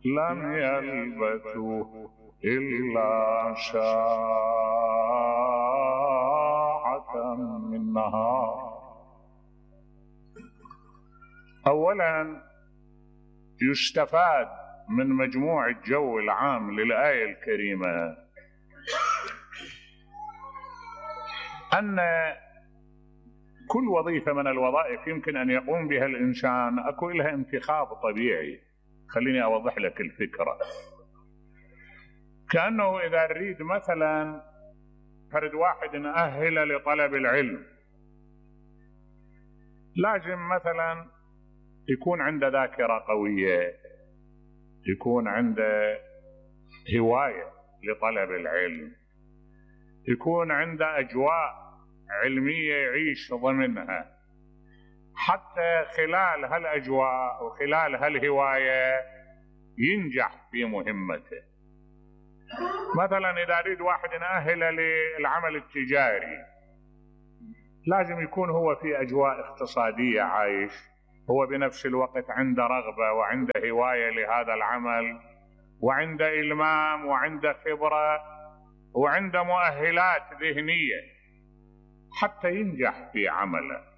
لم يلبثوا إلا ساعة من نهار. أولا يستفاد من مجموع الجو العام للآية الكريمة أن كل وظيفة من الوظائف يمكن أن يقوم بها الإنسان أكو لها انتخاب طبيعي. خليني أوضح لك الفكرة. كأنه إذا نريد مثلا فرد واحد نأهل لطلب العلم، لازم مثلا يكون عنده ذاكرة قوية، يكون عنده هواية لطلب العلم، يكون عنده أجواء علمية يعيش ضمنها، حتى خلال هالأجواء وخلال هالهواية ينجح في مهمته. مثلا إذا أريد واحد نأهله للعمل التجاري، لازم يكون هو في أجواء اقتصادية عايش، هو بنفس الوقت عنده رغبة وعنده هواية لهذا العمل، وعنده إلمام وعنده خبرة وعنده مؤهلات ذهنية حتى ينجح في عمله.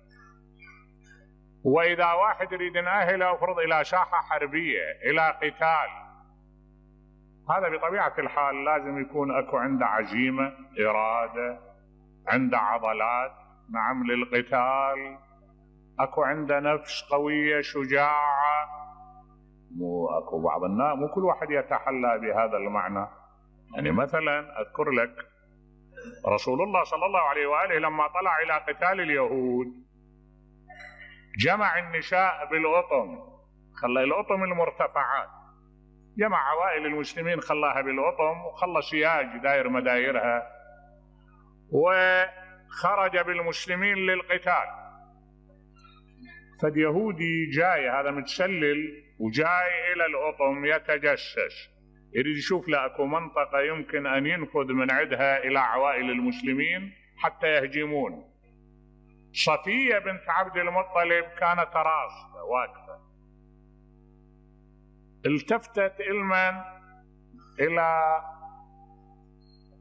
وإذا واحد يريد نأهله أفرض إلى ساحة حربية، إلى قتال، هذا بطبيعة الحال لازم يكون أكو عنده عزيمة، إرادة، عنده عضلات نعم للقتال، أكو عنده نفس قوية شجاعة. مو أكو بعض الناس، مو كل واحد يتحلى بهذا المعنى. يعني مثلا أذكر لك رسول الله صلى الله عليه وآله لما طلع إلى قتال اليهود جمع النساء بالأطم، خلى الأطم المرتفعات، جمع عوائل المسلمين خلاها بالأطم وخلى سياج داير مدايرها، وخرج بالمسلمين للقتال. فاليهودي جاي هذا متسلل وجاي إلى الأطم يتجسس، يريد يشوف له اكو منطقة يمكن أن ينفذ من عندها إلى عوائل المسلمين حتى يهجمون. صفية بنت عبد المطلب كانت راسخة واقفة، التفتت إلمن إلى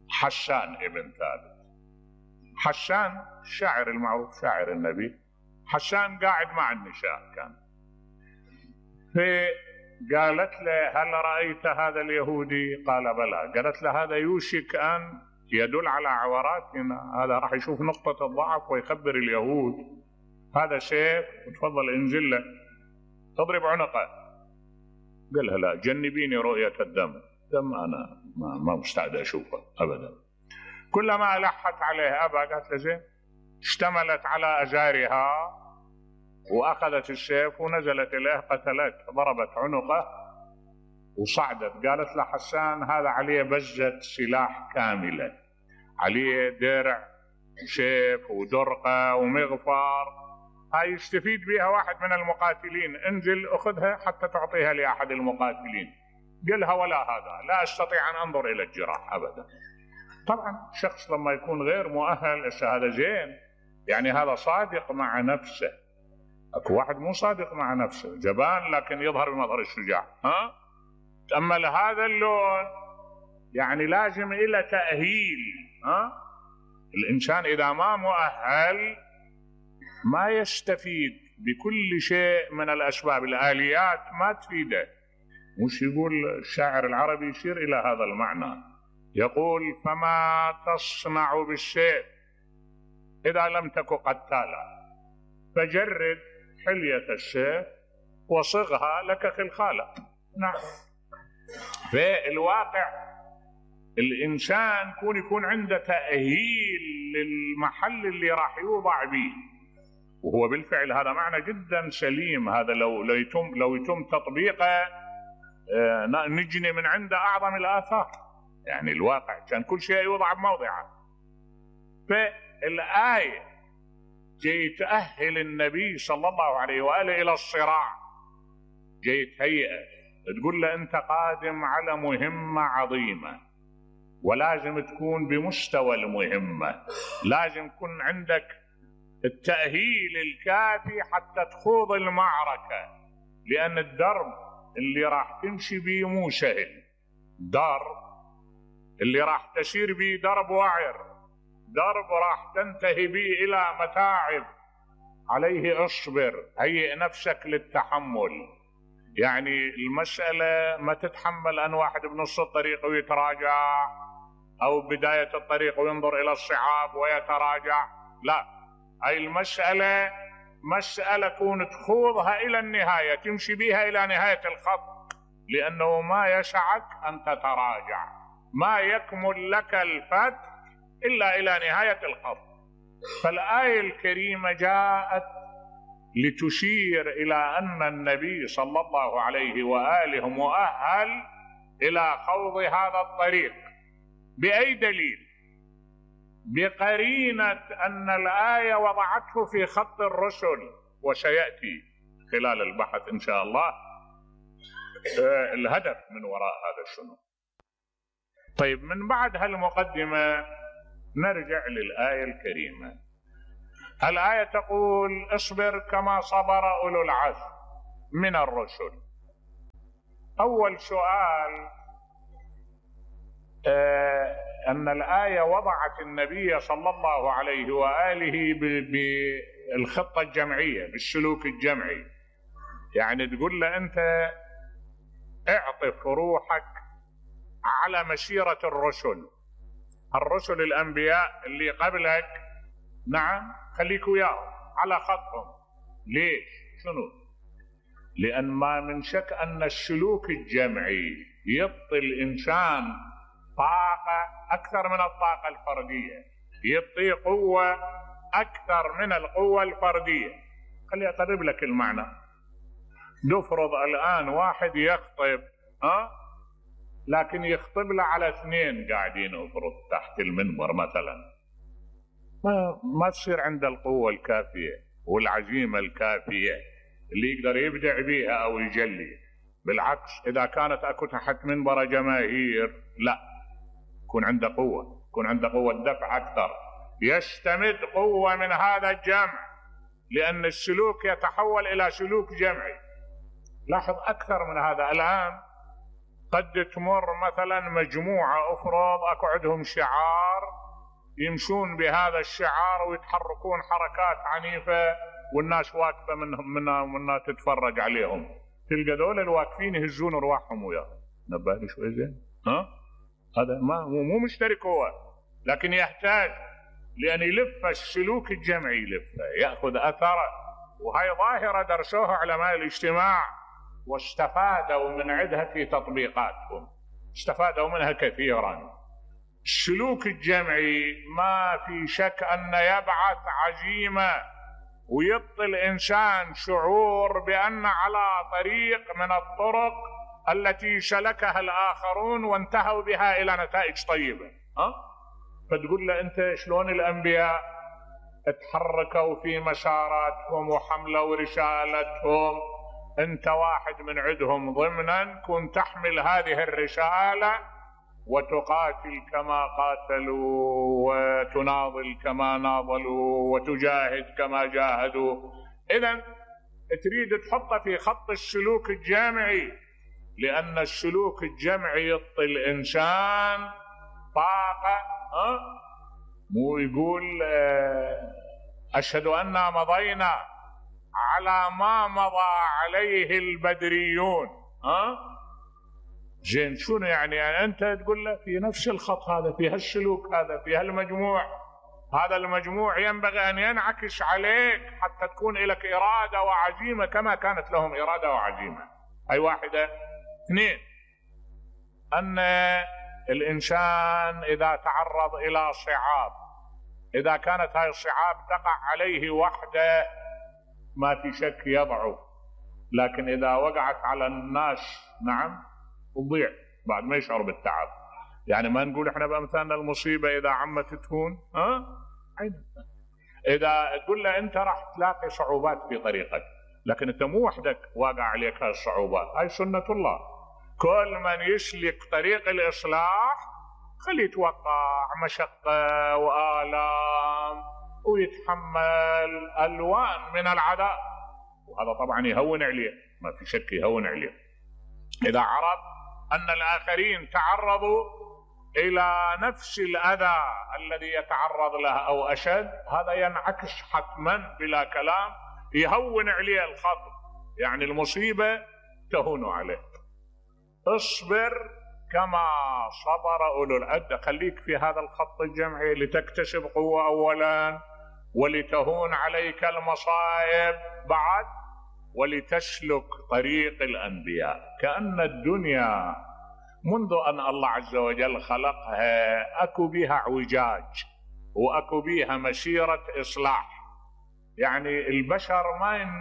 حسان ابن ثابت. حسان الشاعر المعروف، شاعر النبي. حسان قاعد مع النساء كان، فقالت له هل رأيت هذا اليهودي؟ قال بلى. قالت له هذا يوشك أن يدل على عوراتنا، هذا راح يشوف نقطة الضعف ويخبر اليهود، هذا سيف وتفضل انزل له تضرب عنقه. قالها لا، جنبيني رؤية الدم، دم أنا ما مستعد أشوفه أبدا. كلما لحت عليه أبا قالت له زين. اشتملت على أزارها وأخذت السيف ونزلت إليه قتلته، ضربت عنقه وصعدت. قالت له حسان هذا عليه بزة سلاح كاملة، عليه درع وسيف ودرقة ومغفر، هاي يستفيد بها واحد من المقاتلين، انزل أخذها حتى تعطيها لأحد المقاتلين. قالها ولا هذا، لا أستطيع أن أنظر إلى الجراح أبدا. طبعا شخص لما يكون غير مؤهل هذا زين، يعني هذا صادق مع نفسه. اكو واحد مو صادق مع نفسه، جبان لكن يظهر بمظهر الشجاع. تأمل هذا اللون، يعني لازم إلى تأهيل. الإنسان إذا ما مؤهل ما يستفيد بكل شيء من الأسباب، الآليات ما تفيده. مش يقول الشاعر العربي يشير إلى هذا المعنى، يقول فما تصنع بالسيف إذا لم تك قتالا، فجرد حلية السيف وصغها لك خلخالة. نعم. في الواقع الإنسان يكون عنده تأهيل للمحل اللي راح يوضع به، وهو بالفعل هذا معنى جدا سليم. هذا لو يتم تطبيقه نجني من عنده أعظم الآثار. يعني الواقع كان كل شيء يوضع بموضعه. فالآية جاي تأهل النبي صلى الله عليه وآله إلى الصراع، جاي تهيئه، تقول له أنت قادم على مهمة عظيمة، ولازم تكون بمستوى المهمة، لازم يكون عندك التأهيل الكافي حتى تخوض المعركة، لأن الدرب اللي راح تمشي بيه مو سهل، درب اللي راح تسير بيه درب وعر، درب راح تنتهي بيه إلى متاعب، عليه اصبر، هيئ نفسك للتحمل. يعني المسألة ما تتحمل أن واحد بنص الطريق ويتراجع، أو بداية الطريق وينظر إلى الصعاب ويتراجع، لا، هاي المسألة مسألة كون تخوضها إلى النهاية، تمشي بها إلى نهاية الخط، لأنه ما يسعك أن تتراجع، ما يكمل لك الفتح إلا إلى نهاية الخط. فالآية الكريمة جاءت لتشير إلى أن النبي صلى الله عليه وآله مؤهل إلى خوض هذا الطريق. بأي دليل؟ بقرينة أن الآية وضعته في خط الرسل، وسيأتي خلال البحث إن شاء الله الهدف من وراء هذا شنو. طيب، من بعد هالمقدمة نرجع للآية الكريمة. الآية تقول: اصبر كما صبر أولو العزم من الرسل. أول سؤال، أن الآية وضعت النبي صلى الله عليه وآله بالخطة الجمعية، بالسلوك الجمعي. يعني تقول له أنت اعطف روحك على مسيرة الرسل الأنبياء اللي قبلك، نعم، خليك وياهم على خطهم. ليش؟ شنو؟ لأن ما من شك أن السلوك الجمعي يعطي الإنسان طاقة أكثر من الطاقة الفردية، يعطي قوة أكثر من القوة الفردية. خلي أقرب لك المعنى. نفرض الآن واحد يخطب، لكن يخطب له على 2 قاعدين افرض تحت المنبر مثلا، ما تصير عنده القوة الكافية والعزيمة الكافية اللي يقدر يبدع بيها أو يجلي. بالعكس، إذا كانت أكو تحت منبر جماهير، لا، يكون عنده قوة، يكون عنده قوة دفع أكثر، يستمد قوة من هذا الجمع، لأن السلوك يتحول إلى سلوك جمعي. لاحظ أكثر من هذا. الآن قد تمر مثلا مجموعة، افرض أكو عندهم شعار، يمشون بهذا الشعار ويتحركون حركات عنيفة، والناس واقفة منها تتفرج عليهم، تلقى دول الواقفين يهزون ارواحهم وياهم. نبه لي شوي زين، هذا مو مشترك هو، لكن يحتاج، لأن يلف السلوك الجمعي، يلفه يأخذ أثره. وهي ظاهرة درسوها علماء الاجتماع واستفادوا من عندها في تطبيقاتهم، استفادوا منها كثيرا. السلوك الجمعي ما في شك أن يبعث عزيمة، ويعطي الإنسان شعور بأن على طريق من الطرق التي سلكها الآخرون وانتهوا بها إلى نتائج طيبة. فتقول له أنت شلون الأنبياء اتحركوا في مساراتهم وحملوا رسالتهم، أنت واحد من عندهم ضمنا، كن تحمل هذه الرسالة وتقاتل كما قاتلوا، وتناضل كما ناضلوا، وتجاهد كما جاهدوا. إذن تريد تحطه في خط السلوك الجمعي، لأن السلوك الجمعي يعطي الإنسان طاقة. مو يقول أشهد أننا مضينا على ما مضى عليه البدريون. زين، شنو يعني أنت تقول له في نفس الخط هذا، في هالسلوك هذا، في هالمجموع، هذا المجموع ينبغي أن ينعكس عليك حتى تكون لك إرادة وعزيمة كما كانت لهم إرادة وعزيمة. أي واحدة. 2، أن الإنسان إذا تعرض إلى صعاب، إذا كانت هاي الصعاب تقع عليه وحده، ما في شك يضعف، لكن إذا وقعت على الناس، نعم، تضيع بعد ما يشعر بالتعب. يعني ما نقول احنا بأمثالنا المصيبة إذا عمت تهون. إذا تقول له أنت راح تلاقي صعوبات في طريقك، لكن أنت مو وحدك واقع عليك هاي الصعوبات، هاي سنة الله. كل من يسلك طريق الإصلاح خليه يتوقع مشقة وآلام ويتحمل ألوان من العذاب، وهذا طبعا يهون عليه، ما في شك يهون عليه. إذا عرف أن الآخرين تعرضوا إلى نفس الأذى الذي يتعرض له أو أشد، هذا ينعكس حتما بلا كلام، يهون عليه الخطر، يعني المصيبة تهون عليه. اصبر كما صبر أولو العزم، خليك في هذا الخط الجمعي لتكتسب قوة أولا، ولتهون عليك المصائب بعد، ولتسلك طريق الأنبياء. كأن الدنيا منذ أن الله عز وجل خلقها أكو بها اعوجاج وأكو بها مسيرة إصلاح. يعني البشر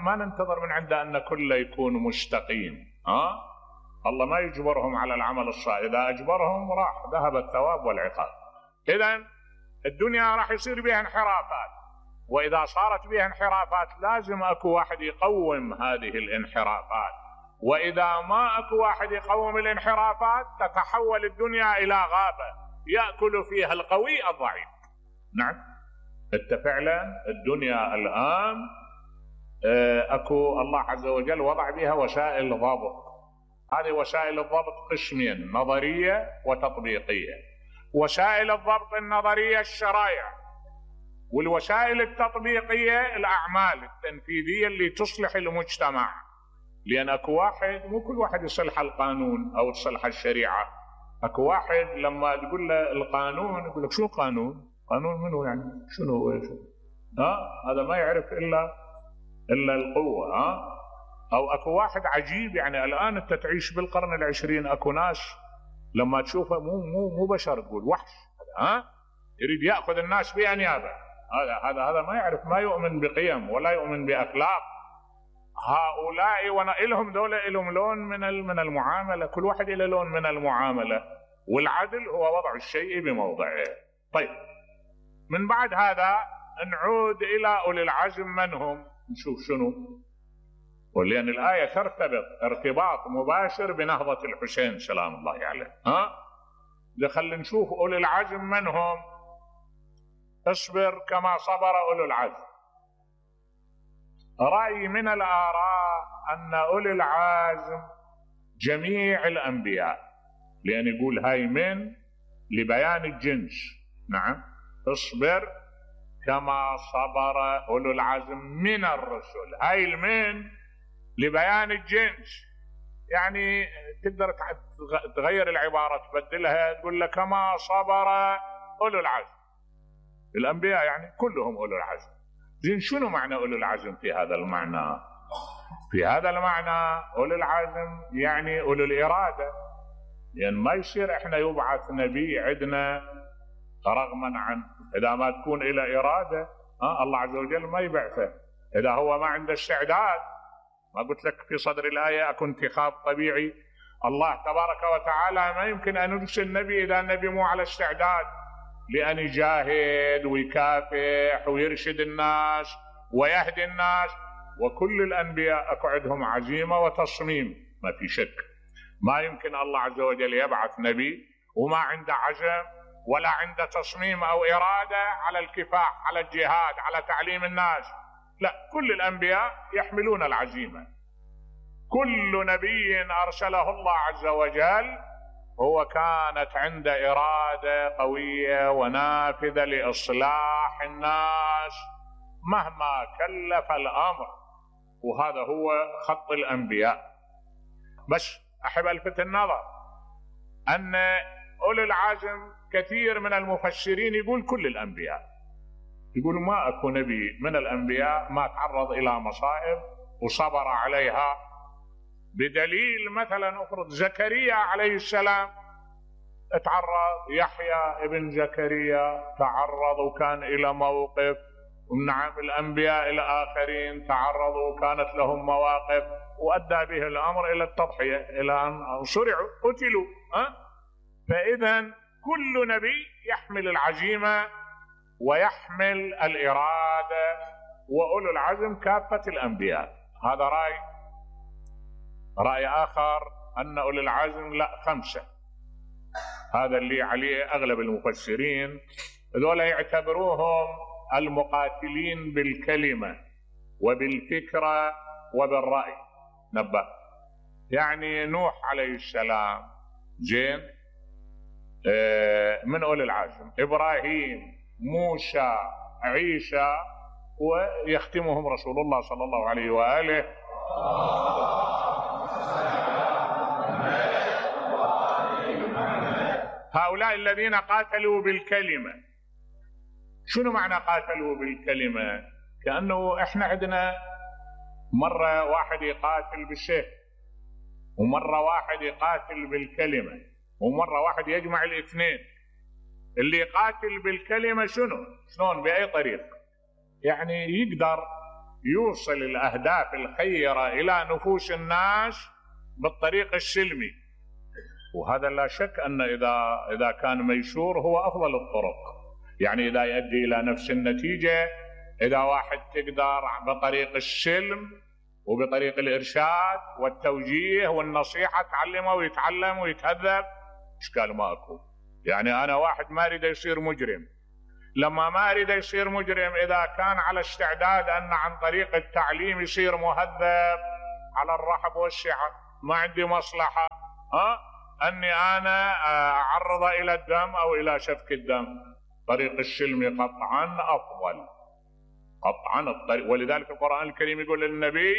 ما ننتظر من عنده أن كله يكون مستقيم، الله ما يجبرهم على العمل الصالح، إذا أجبرهم راح ذهب الثواب والعقاب. إذن الدنيا راح يصير بها انحرافات، وإذا صارت بها انحرافات لازم أكو واحد يقوم هذه الانحرافات، وإذا ما أكو واحد يقوم الانحرافات تتحول الدنيا إلى غابة يأكل فيها القوي الضعيف. نعم، انت فعلا الدنيا الآن أكو الله عز وجل وضع بها وسائل ضبط. هذه وسائل الضبط قسمين، نظرية وتطبيقية. وسائل الضبط النظرية الشرائع، والوسائل التطبيقية الأعمال التنفيذية اللي تصلح المجتمع. لأن أكو واحد مو كل واحد يصلح القانون أو تصلح الشريعة. أكو واحد لما تقول له القانون يقول لك شو قانون؟ قانون منه يعني؟ شنو هو؟ هذا ما يعرف إلا القوة. أو أكو واحد عجيب، يعني الآن أنت تعيش بالقرن العشرين، أكو ناس لما تشوفه مو بشر، تقول وحش، يريد يأخذ الناس بأنيابه. هذا ما يعرف، ما يؤمن بقيم ولا يؤمن بأخلاق. هؤلاء لهم دولة لهم لون من المعاملة، كل واحد له لون من المعاملة، والعدل هو وضع الشيء بموضعه. طيب، من بعد هذا نعود إلى أولي العزم من هم، نشوف شنو. ولأن الآية ترتبط ارتباط مباشر بنهضة الحسين سلام الله عليه. خلينا نشوف أولي العزم من هم. اصبر كما صبر أولو العزم. رأي من الآراء أن أولي العزم جميع الأنبياء، لأن يقول هاي من لبيان الجنس. نعم، اصبر كما صبر أولو العزم من الرسل، هاي المن لبيان الجنس. يعني تقدر تغير العبارة تبدلها، تقول لك كما صبر أولو العزم. الأنبياء يعني كلهم أولو العزم. زين، شنو معنى أولو العزم في هذا المعنى؟ في هذا المعنى أولو العزم يعني أولو الإرادة. يعني ما يصير إحنا يبعث نبي عندنا رغما عنه، إذا ما تكون إلى إرادة الله عز وجل ما يبعثه. إذا هو ما عنده استعداد، ما قلت لك في صدر الآية أكو انتخاب طبيعي؟ الله تبارك وتعالى ما يمكن أن يرسل نبي إذا النبي مو على استعداد لأن يجاهد ويكافح ويرشد الناس ويهدي الناس. وكل الأنبياء أكو عندهم عزيمة وتصميم، ما في شك. ما يمكن الله عز وجل يبعث نبي وما عنده عزم ولا عنده تصميم أو إرادة على الكفاح، على الجهاد، على تعليم الناس. لا، كل الأنبياء يحملون العزيمة. كل نبي أرسله الله عز وجل هو كانت عنده إرادة قوية ونافذة لإصلاح الناس مهما كلف الأمر، وهذا هو خط الأنبياء. بس أحب ألفت النظر أن أولي العزم كثير من المفسرين يقول كل الأنبياء، يقول ما أكو نبي من الأنبياء ما تعرض إلى مصائب وصبر عليها. بدليل مثلا أفرض زكريا عليه السلام تعرض، يحيى ابن زكريا تعرض وكان إلى موقف. ونعم، الأنبياء الآخرين تعرضوا وكانت لهم مواقف وأدى به الأمر إلى التضحية، إلى أن صرعوا قتلوا. فإذا كل نبي يحمل العزيمة ويحمل الإرادة، وأولو العزم كافة الأنبياء. هذا رأي آخر أن أولي العزم لا، 5. هذا اللي عليه أغلب المفسرين. ذولا يعتبروهم المقاتلين بالكلمة وبالفكرة وبالرأي. نبه، يعني نوح عليه السلام، زين، من أولي العزم، إبراهيم، موسى، عيسى، ويختمهم رسول الله صلى الله عليه وآله. هؤلاء الذين قاتلوا بالكلمة. شنو معنى قاتلوا بالكلمة؟ كأنه احنا عندنا مرة واحد يقاتل بالسيف، ومرة واحد يقاتل بالكلمة، ومرة واحد يجمع الاثنين. اللي يقاتل بالكلمة شلون بأي طريق؟ يعني يقدر يوصل الأهداف الخيرة إلى نفوس الناس بالطريق السلمي، وهذا لا شك أن إذا كان ميسور هو أفضل الطرق، يعني إذا يؤدي إلى نفس النتيجة. إذا واحد تقدر بطريق السلم وبطريق الإرشاد والتوجيه والنصيحة تعلمه ويتعلم ويتهذب، إشكال ما أكو. يعني أنا واحد ما أريد يصير مجرم، لما ما أريد يصير مجرم إذا كان على استعداد أن عن طريق التعليم يصير مهذب على الرحب والسعة، ما عندي مصلحة أني أنا أعرض إلى الدم أو إلى سفك الدم. طريق السلم قطعا أفضل، قطعا الطريق. ولذلك القرآن الكريم يقول للنبي: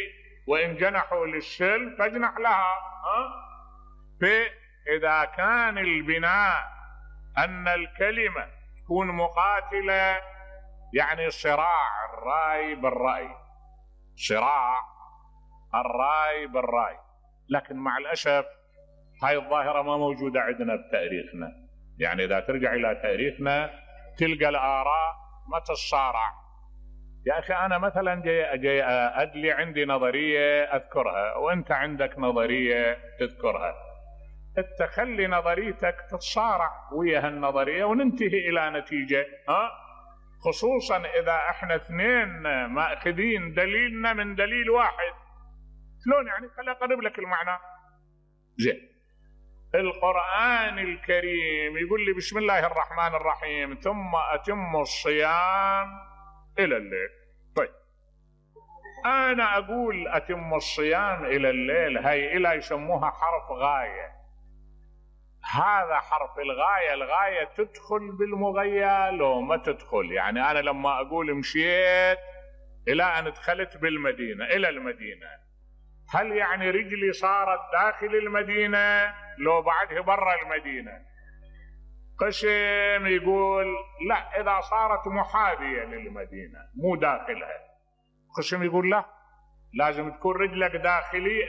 وإن جنحوا للسلم فاجنح لها. فإذا كان البناء أن الكلمة تكون مقاتلة، يعني صراع الرأي بالرأي، صراع الرأي بالرأي. لكن مع الأسف هاي الظاهرة ما موجودة عندنا بتاريخنا. يعني إذا ترجع إلى تاريخنا تلقى الآراء ما تتصارع. يا أخي أنا مثلا جاي أدلي عندي نظرية أذكرها، وأنت عندك نظرية تذكرها، تخلي نظريتك تتصارع ويا هالنظرية وننتهي إلى نتيجة. خصوصا إذا احنا اثنين ماخذين دليلنا من دليل واحد. شلون يعني؟ خليني أقرب لك المعنى. زين، القرآن الكريم يقول لي: بسم الله الرحمن الرحيم ثم أتموا الصيام إلى الليل. طيب أنا أقول أتم الصيام إلى الليل، هاي إلى يسموها حرف غاية. هذا حرف الغاية، الغاية تدخل بالمغية لو ما تدخل. يعني أنا لما أقول مشيت إلى أن دخلت بالمدينة إلى المدينة، هل يعني رجلي صارت داخل المدينة لو بعدها برا المدينة؟ قسم يقول لا، إذا صارت محاذية للمدينة مو داخلها. قسم يقول لا، لازم تكون رجلك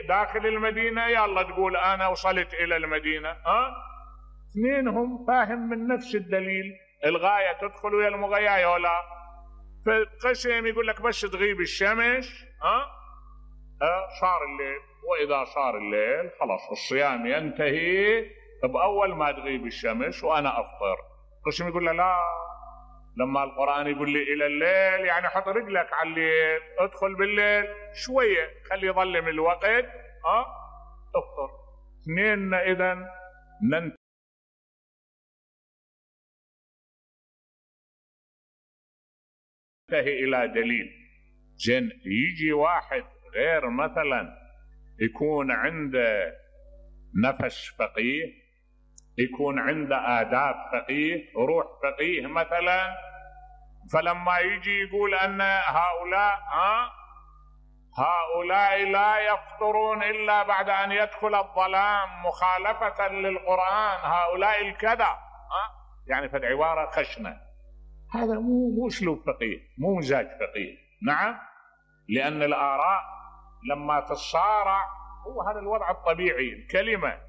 داخل المدينة، يلا تقول أنا وصلت إلى المدينة. اثنينهم فاهم من نفس الدليل، الغاية تدخل ويا المغاية ولا. فالقسم يقول لك بس تغيب الشمس صار الليل، وإذا صار الليل خلاص الصيام ينتهي بأول ما تغيب الشمس وأنا أفطر. قسم يقول له لا، لما القرآن يقول لي إلى الليل يعني حط رجلك على الليل، ادخل بالليل شوية، خلي يظلم الوقت افطر. اثنين إذن ننتهي إلى دليل. زين، يجي واحد غير مثلا يكون عنده نفس فقيه، يكون عنده آداب فقيه، روح فقيه مثلا، فلما يجي يقول أن هؤلاء لا يفطرون إلا بعد أن يدخل الظلام مخالفة للقرآن، هؤلاء الكذا، يعني في العبارة خشنة. هذا مو أسلوب فقيه، مو مزاج فقيه. نعم، لأن الآراء لما تتصارع هو هذا الوضع الطبيعي. الكلمة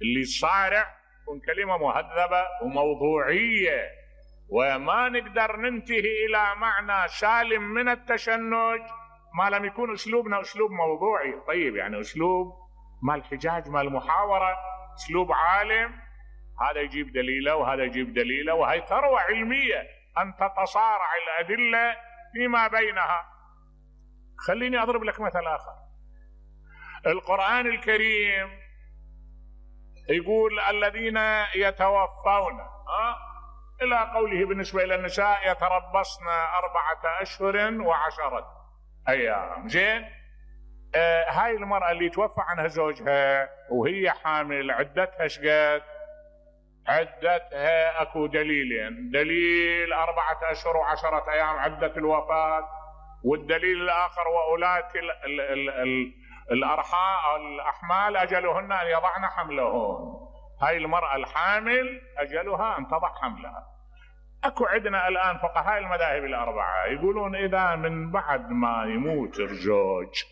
اللي تصارع تكون كلمة مهذبة وموضوعية، وما نقدر ننتهي إلى معنى سالم من التشنج ما لم يكون أسلوبنا أسلوب موضوعي. طيب يعني أسلوب مال حجاج، مال محاورة، أسلوب عالم، هذا يجيب دليله وهذا يجيب دليله، وهي ثروة علمية أن تتصارع الأدلة فيما بينها. خليني أضرب لك مثل آخر. القرآن الكريم يقول الذين يتوفون إلى قوله بالنسبة إلى النساء يتربصن 4 أشهر و10 أيام. زين، هاي المرأة اللي توفى عنها زوجها وهي حامل عدتها شقد؟ عدتها اكو دليلين، دليل 4 أشهر و10 أيام عدة الوفاة، والدليل الآخر وأولات الأحمال أجلهن أن يضعن حملهن. هاي المرأة الحامل أجلها أن تضع حملها. أكو عندنا الآن فقهاء المذاهب الأربعة يقولون إذا من بعد ما يموت الزوج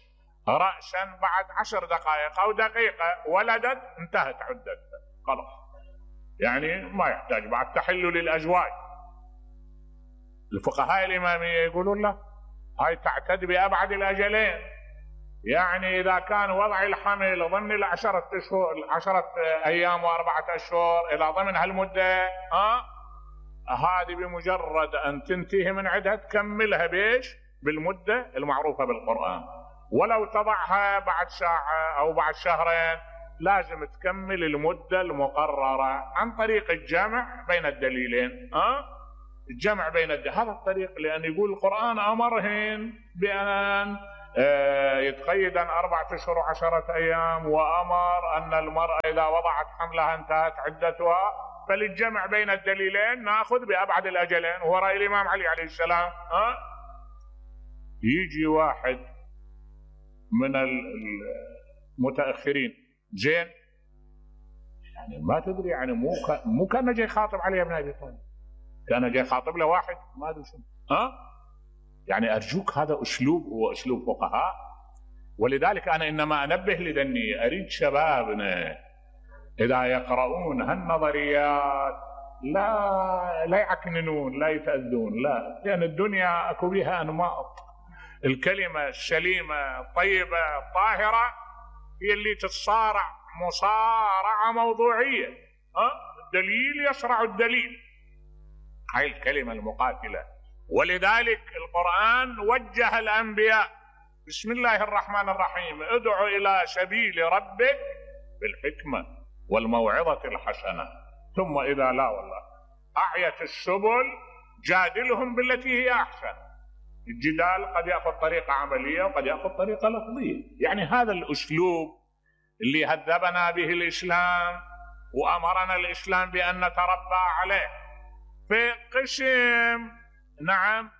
رأسا بعد 10 دقائق أو دقيقة ولدت انتهت عدتها خلاص، يعني ما يحتاج بعد تحل للأزواج. الفقهاء الإمامية يقولون لا، هاي تعتد بأبعد الأجلين، يعني إذا كان وضع الحمل ضمن 10 أيام و4 أشهر، إذا ضمن هالمدة هذه بمجرد أن تنتهي من عدها تكملها بيش؟ بالمدة المعروفة بالقرآن. ولو تضعها بعد ساعة أو بعد شهرين لازم تكمل المدة المقررة عن طريق الجمع بين الدليلين. الجمع بين هذا الطريق، لأن يقول القرآن أمرهن بأن يتقيدن 4 أشهر و10 أيام، وأمر أن المرأة إذا وضعت حملها انتهت عدتها، فللجمع بين الدليلين نأخذ بأبعد الأجلين، وهو رأي الإمام علي عليه السلام. يجي واحد من المتأخرين زين، يعني ما تدري، يعني مو كان جاي خاطب علي بن أبي طالب، كان جاي خاطب له واحد ما ادري شنو. يعني ارجوك هذا اسلوب هو اسلوب فقهاء. ولذلك انا انما انبه لذني، اريد شبابنا اذا يقرؤون هالنظريات لا يعكننون، لا يتأذون، لا، لان الدنيا اكو بها انماط. الكلمه السليمه الطيبه الطاهره هي اللي تتصارع مصارعه موضوعيه. الدليل يصرع الدليل، هاي الكلمة المقاتلة. ولذلك القرآن وجه الأنبياء بسم الله الرحمن الرحيم، ادعو إلى سبيل ربك بالحكمة والموعظة الحسنة، ثم إذا لا والله أعيت السبل جادلهم بالتي هي أحسن. الجدال قد يأخذ طريقة عملية وقد يأخذ طريقة لفظية. يعني هذا الأسلوب اللي هذبنا به الإسلام وأمرنا الإسلام بأن نتربى عليه. في قسم نعم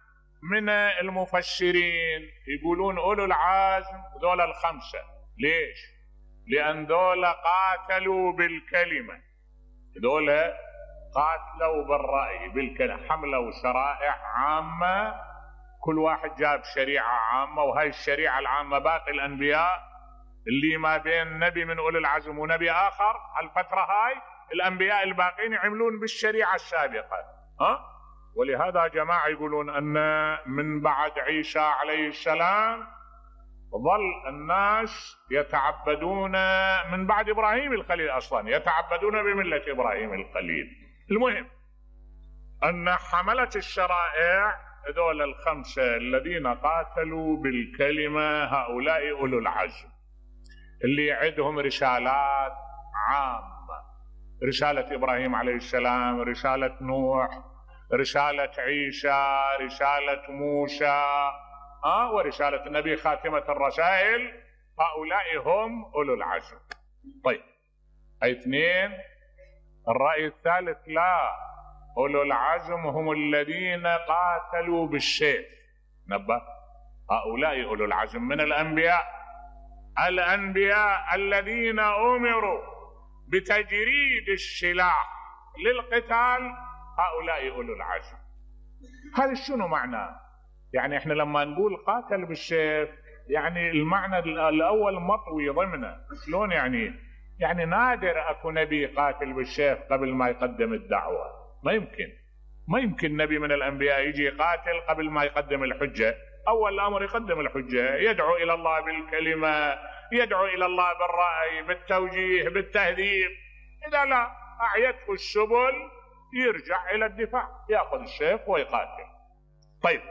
من المفسرين يقولون أولو العزم ذولا ال5. ليش؟ لأن ذولا قاتلوا بالكلمة، ذولا قاتلوا بالرأي بالكلمة، حملوا شرائع عامة، كل واحد جاب شريعة عامة، وهي الشريعة العامة باقي الأنبياء اللي ما بين نبي من أولي العزم ونبي آخر الفترة هاي الأنبياء الباقين يعملون بالشريعة السابقة. ولهذا جماعة يقولون أن من بعد عيسى عليه السلام ظل الناس يتعبدون، من بعد إبراهيم الخليل أصلا يتعبدون بملة إبراهيم الخليل. المهم أن حملة الشرائع ذول ال5 الذين قاتلوا بالكلمة هؤلاء أولو العزم اللي عندهم رسالات عامة، رسالة إبراهيم عليه السلام، رسالة نوح، رسالة عيسى، رسالة موسى، ورسالة النبي خاتمة الرسائل. هؤلاء هم أولو العزم. طيب، أي 2. الرأي الثالث لا، أولو العزم هم الذين قاتلوا بالسيف. نبه، هؤلاء أولو العزم من الأنبياء، الأنبياء الذين أمروا بتجريد السلاح للقتال، هؤلاء أولو العزم. هذا شنو معناه؟ يعني احنا لما نقول قاتل بالسيف يعني المعنى الأول مطوي ضمنه. شلون يعني؟ يعني نادر أكو نبي قاتل بالسيف قبل ما يقدم الدعوة. ما يمكن نبي من الأنبياء يجي يقاتل قبل ما يقدم الحجة. أول الأمر يقدم الحجة، يدعو إلى الله بالكلمة، يدعو إلى الله بالرأي، بالتوجيه، بالتهذيب. إذا لا أعيته السبل يرجع إلى الدفاع، يأخذ السيف ويقاتل. طيب،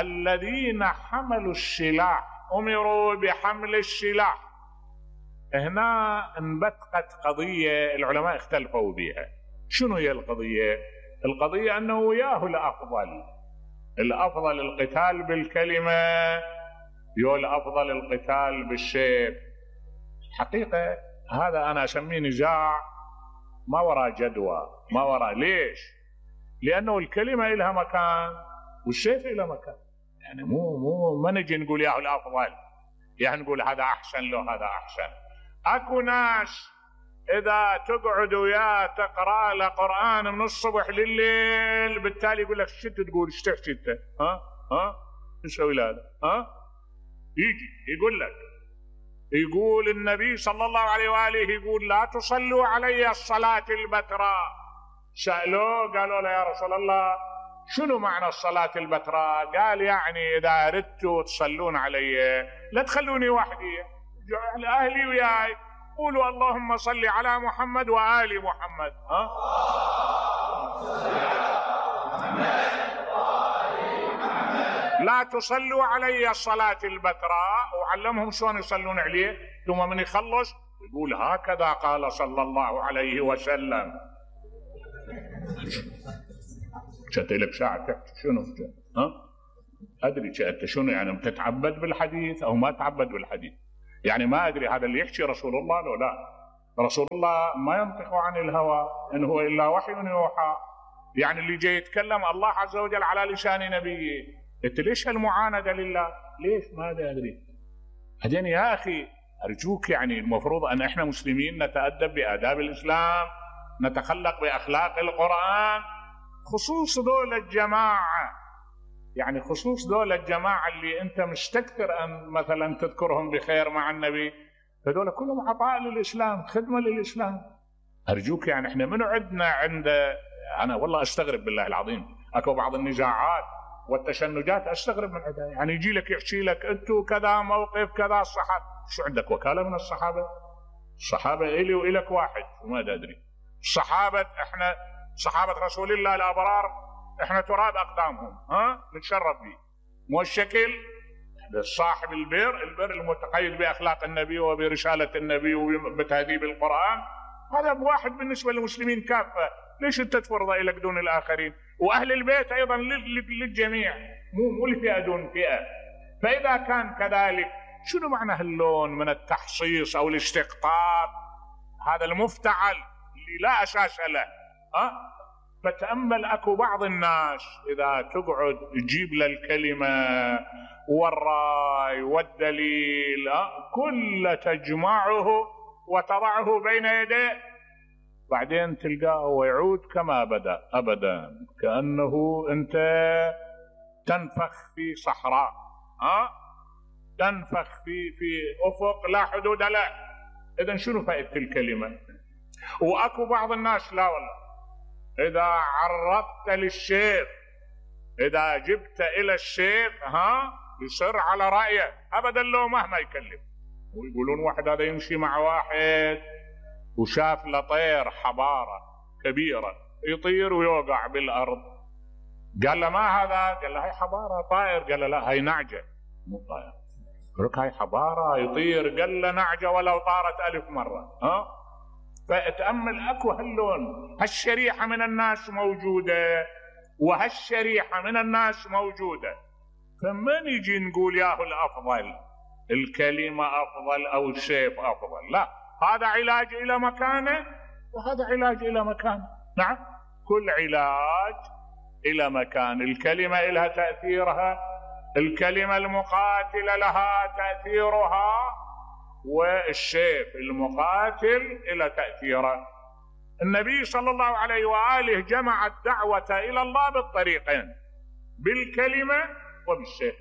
الذين حملوا السلاح أمروا بحمل السلاح. هنا انبثقت قضية العلماء اختلفوا بها. شنو هي القضية؟ القضية أنه ياهو الأفضل القتال بالكلمة يقول أفضل القتال بالسيف. حقيقة هذا أنا أسميه نزاع ما وراء جدوى، ما وراء. ليش؟ لأنه الكلمة إلها مكان والسيف إلها مكان. يعني مو ما نجي نقول ياهو الأفضل، يعني نقول هذا أحسن له هذا أحسن. أكو ناس إذا تقعد وياه تقرأ له قرآن من الصبح لليل بالتالي يقول لك شو تقول؟ ايش تحكي انت؟ ها ايش تسوي هذا؟ يجي يقول لك، يقول النبي صلى الله عليه وآله يقول لا تصلوا علي الصلاة البتراء. سألوه قالوا له يا رسول الله شنو معنى الصلاة البتراء؟ قال يعني إذا أردتوا تصلون علي لا تخلوني وحدي، أهلي وياي، قولوا اللهم صل على محمد وآل محمد. لا تصلوا علي الصلاة البتراء، وعلمهم شلون يصلون عليه، ثم من يخلص يقول هكذا قال صلى الله عليه وسلم. شت لك ساعة تحكي شنو؟ أدري أنت شنو يعني تتعبد بالحديث أو ما تعبد بالحديث؟ يعني ما أدري هذا اللي يحكي رسول الله لو لا. رسول الله ما ينطق عن الهوى إن هو إلا وحي يوحى. يعني اللي جاي يتكلم الله عز وجل على لسان نبيه. أنت ليش هالمعاندة لله؟ ليش؟ ما أدري. بعدين يا أخي أرجوك، يعني المفروض أن إحنا مسلمين نتأدب بآداب الإسلام، نتخلق بأخلاق القرآن، خصوص دول الجماعة. يعني خصوص دول الجماعة اللي أنت مستكثر أن مثلا تذكرهم بخير مع النبي، فدول كلهم عطاء للإسلام، خدمة للإسلام. أرجوك يعني إحنا منو عندنا أنا والله أستغرب بالله العظيم، أكو بعض النزاعات والتشنجات أستغرب من عندها. يعني يجي لك يحكي لك أنتوا كذا موقف كذا الصحابة، شو عندك وكالة من الصحابة؟ الصحابة إلي وإلك واحد وما أدري. الصحابة إحنا صحابة رسول الله الأبرار إحنا تراب أقدامهم، نتشرف به. مو الشكل صاحب البر المتقيد بأخلاق النبي وبرسالة النبي وبتهذيب القرآن، هذا بواحد بالنسبة للمسلمين كافة. ليش أنت تفرض إليك دون الآخرين؟ وأهل البيت أيضا للجميع، مو لفئة دون فئة. فإذا كان كذلك شنو معنى هاللون من التحصيص أو الاستقطاب هذا المفتعل اللي لا أساس له؟ فتأمل، أكو بعض الناس إذا تقعد تجيب له الكلمة والرأي والدليل كل تجمعه وتضعه بين يديه، بعدين تلقاه ويعود كما بدأ أبدا، كأنه أنت تنفخ في صحراء، تنفخ في أفق لا حدود له. إذن شنو فائدة الكلمة؟ وأكو بعض الناس لا والله إذا عرضت للسيف، إذا جبت إلى السيف يصر على رأيه أبدا لو مهما يكلم. ويقولون واحد هذا يمشي مع واحد وشاف له حبارة كبيرة يطير ويوقع بالأرض، قال له ما هذا؟ قال له هاي حبارة طائر. قال له لا هاي نعجة مو طائر. قال له هاي حبارة يطير. قال له نعجة ولو طارت 1000 مرة. فاتأمل، أكو هاللون، هالشريحة من الناس موجودة وهالشريحة من الناس موجودة. فمن يجي نقول ياهو الأفضل الكلمة أفضل أو السيف أفضل؟ لا، هذا علاج إلى مكانه وهذا علاج إلى مكانه. نعم، كل علاج إلى مكان. الكلمة إلها تأثيرها، الكلمة المقاتلة لها تأثيرها، والسيف المقاتل إلى تأثيره. النبي صلى الله عليه وآله جمع الدعوة إلى الله بالطريقين، بالكلمة وبالسيف.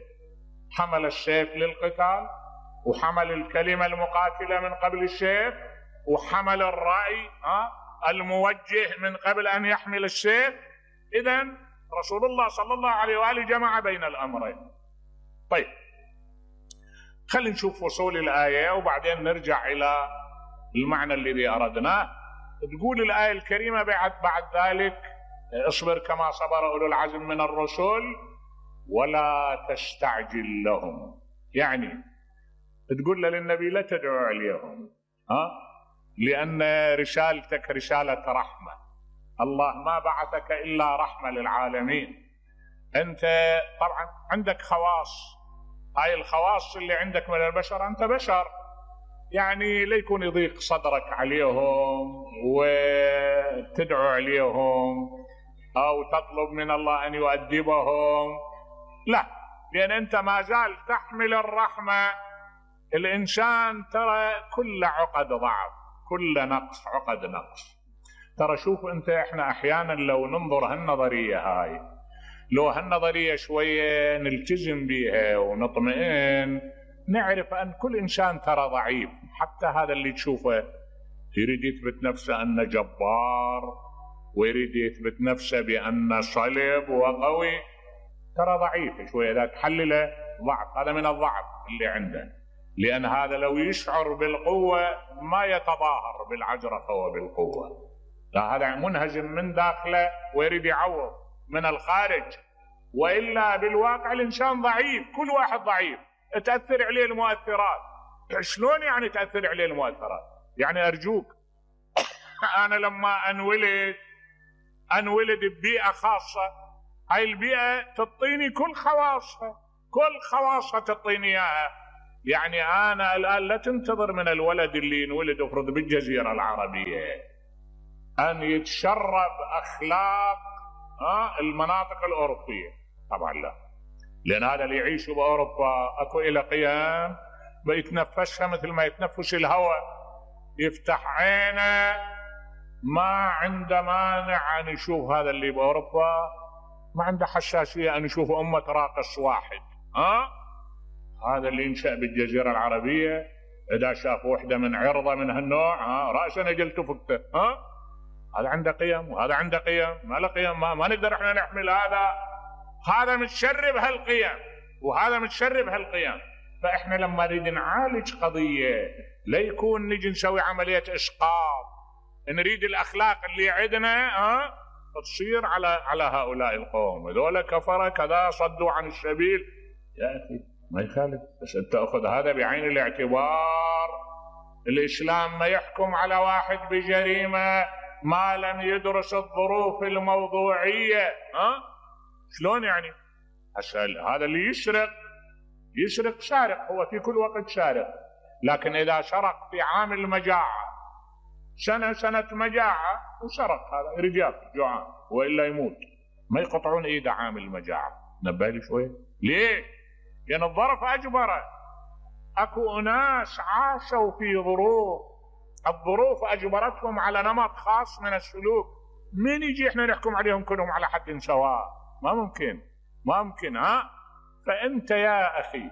حمل السيف للقتال، وحمل الكلمة المقاتلة من قبل السيف، وحمل الرأي الموجه من قبل أن يحمل السيف. إذن رسول الله صلى الله عليه وآله جمع بين الأمرين. طيب، خلينا نشوف وصول الآية وبعدين نرجع إلى المعنى الذي أردناه. تقول الآية الكريمة بعد ذلك اصبر كما صبر أولو العزم من الرسل ولا تستعجل لهم. يعني تقول للنبي لا تدعو عليهم، لأن رسالتك رسالة رحمة. الله ما بعثك إلا رحمة للعالمين. أنت طبعا عندك خواص هاي الخواص اللي عندك من البشر، أنت بشر، يعني لا يكون يضيق صدرك عليهم وتدعو عليهم أو تطلب من الله أن يؤدبهم، لا، لأن أنت ما زال تحمل الرحمة. الإنسان ترى كل عقد ضعف، كل نقص عقد نقص. ترى شوف أنت، إحنا أحيانا لو ننظر هالنظرية هاي، لو هالنظرية شوية نلتزم بها ونطمئن، نعرف أن كل إنسان ترى ضعيف. حتى هذا اللي تشوفه يريد يثبت نفسه أنه جبار ويريد يثبت نفسه بأنه صلب وقوي، ترى ضعيف شوية. إذا تحلله ضعف، هذا من الضعف اللي عنده، لأن هذا لو يشعر بالقوة ما يتظاهر بالعجرفة وبالقوة، لا، هذا منهزم من داخله ويريد يعوض من الخارج. وإلا بالواقع الإنسان ضعيف، كل واحد ضعيف، تأثر عليه المؤثرات. شلون يعني تأثر عليه المؤثرات؟ يعني أرجوك، أنا لما أنولد ببيئة خاصة، هاي البيئة تعطيني كل خواصها تعطيني إياها. يعني أنا الآن لا تنتظر من الولد اللي ينولد افرض بالجزيرة العربية أن يتشرب أخلاق المناطق الأوروبية، طبعا لا، لأن هذا اللي يعيش بأوروبا أكو إلى قيام بيتنفسها مثل ما يتنفس الهواء، يفتح عينه، ما عنده مانع أن يشوف هذا اللي بأوروبا، ما عنده حساسية أن يشوف أمة راقص واحد. هذا اللي ينشأ بالجزيرة العربية إذا شاف وحدة من عرضة من هالنوع رأسا نجلت فكته. هذا عنده قيم وهذا عنده قيم، ما له قيم، ما نقدر احنا نحمل هذا متشرب هالقيم وهذا متشرب هالقيم. فاحنا لما نريد نعالج قضية لا يكون نجي نسوي عملية اسقاط، نريد الاخلاق اللي عندنا تصير على هؤلاء القوم، هذول كفرة كذا صدوا عن السبيل. يا اخي ما يخالف، بس انت اخذ هذا بعين الاعتبار. الاسلام ما يحكم على واحد بجريمة ما لم يدرس الظروف الموضوعية. شلون يعني؟ أسأل، هذا اللي يسرق سارق، هو في كل وقت سارق، لكن إذا سرق في عام المجاعة، سنة مجاعة وسرق، هذا رجال جوعان وإلا يموت، ما يقطعون إيده عام المجاعة. نبالي شوية ليه؟ لأن الظرف أجبره. أكو أناس عاشوا في الظروف أجبرتهم على نمط خاص من السلوك، من يجي احنا نحكم عليهم كلهم على حد سواء؟ ما ممكن. فأنت يا أخي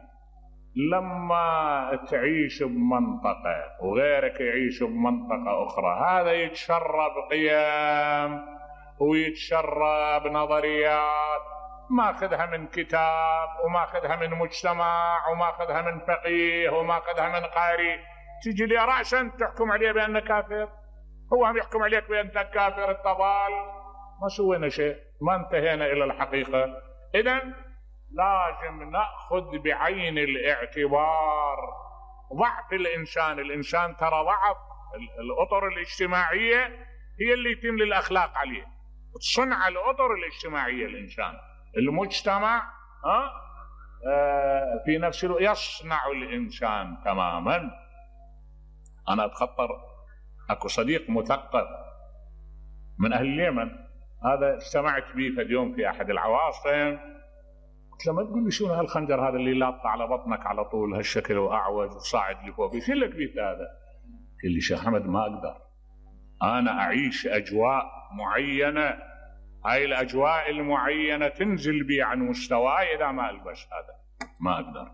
لما تعيش بمنطقة وغيرك يعيش بمنطقة أخرى، هذا يتشرب قيم ويتشرب نظريات ماخذها من كتاب وماخذها من مجتمع وماخذها من فقيه وماخذها من قارئ، تجي لي رأسا تحكم عليه بأنه كافر. هو هم يحكم عليك بأنك كافر، الضال، ما سوينا شيء، ما انتهينا إلى الحقيقة. إذن لازم نأخذ بعين الاعتبار ضعف الإنسان ترى ضعف الأطر الاجتماعية هي اللي تملي الأخلاق عليه، تصنع الأطر الاجتماعية الإنسان، المجتمع في نفس الوقت يصنع الإنسان تماما. أنا أتخطر أكو صديق مثقف من أهل اليمن، هذا استمعت به في اليوم في أحد العواصم، قلت له ما تقول لي شنو هالخنجر هذا اللي لاط على بطنك على طول هالشكل وأعوج وصاعد لفوق، شو لك بيت هذا؟ قال لي شيخ أحمد ما أقدر، أنا أعيش أجواء معينة، هاي الأجواء المعينة تنزل بي عن مستواي إذا ما ألبس هذا، ما أقدر،